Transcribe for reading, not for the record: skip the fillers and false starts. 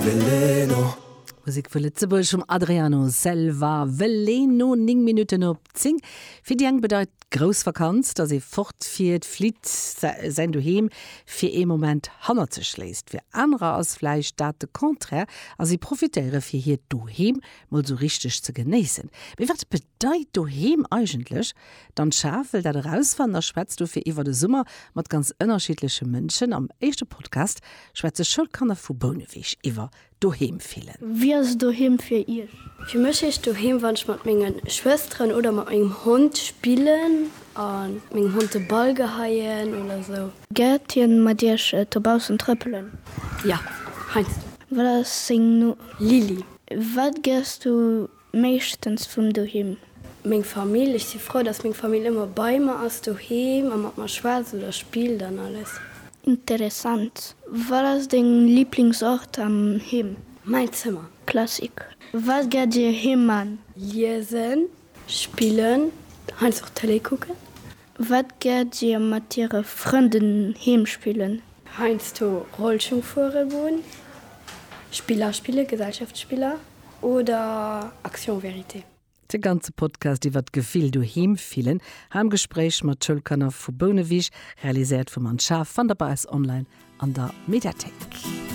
Veleno. Musek vu Lëtzebuerg vum Adriano Selva, Veleno, 9 Minutten op 10. Fir déi eng bedeit grouss Vakanz, dass ee fortfiert, flitt, säin Doheem fir ee Moment hannert sech léisst. Fir anerer ass vläicht dat de Contraire a si profitéiere fir hiert Doheem mol sou richteg ze genéissen. Mee wat bedeit Doheem eigentlech? D'Anne Schaaf wëll dat erausfannen a schwätzt dofir iwwer de Summer mat ganz ënnerschiddleche Mënschen. Am éischte Podcast schwätze Schoulkanner vu Bouneweg iwwer Doheem fillen. Wéi ass doheem fir Iech? Fir mech heescht doheem wann ech mat menge Schwësteren oder mat mengem Hond spillen a mengem Hond de Ball geheien oder sou. Gäert hien mat Iech dobaussen trëppelen? Jo, heiansdo. Wat ass seng Numm? Lili. Wat gäers du Meeschtens vum doheem. Meng Famill, ech si frou dass meng Famill ëmmer bei mer ass doheem a mat mer schwätzt oder spillt an alles. Interessant. Wat ass deng Liblingsort am Heem? Mäin Zëmmer. Classic. Wat gäert dir heem man? Liesen, spillen, heiansdo och Tëlee kucken. Wat gäert dir mat iere Frënden heem spillen? Heiansdo Rollschung fuere goen, Spiller spillen, Gesellschaftsspiller. Oder Action Vérité. De ganze Podcast iwwer d'Gefill doheem fillen, hei am Gespréich mat Schoulkanner vu Bouneweg, realiséiert vum Anne Schaaf, fannt der bei eis online an der Mediathéik.